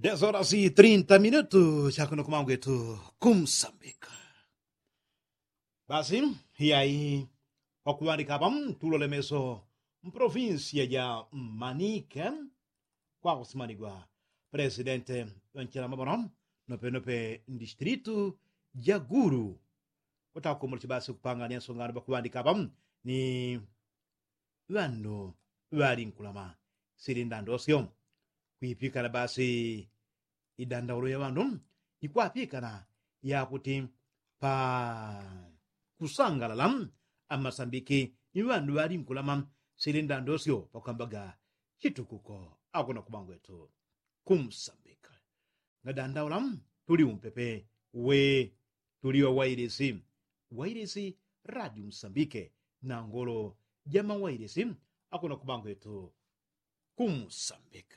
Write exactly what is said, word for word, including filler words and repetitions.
Desorasi trinta minutu chakuno kumangwetu kumsambika. Basi iyai, pakuŵandika apa tulole meso mpolofinsiya ja manike, kwakusimanigwa presidente ŵanchilama ŵano nopenope mdistritu ja gulu. Kutakumula chibasi kupangania nsongano pakuŵandika apa ni ŵandu ŵalinkulama sili ndandosyo. Kwipikana basi idandaulo ya ŵandu ikwapikana yakuti pa kusangalala amasambiki ni ŵandu ŵalinkulama sili ndandosyo pakwambaga chitukuko. Akuno kubangwetu kumsambika ngadandaula tuli umpepe we tuli wa wailisi, wailisi radio msambike na ngolo ja mawailisi akuno kubangwetu kumsambika.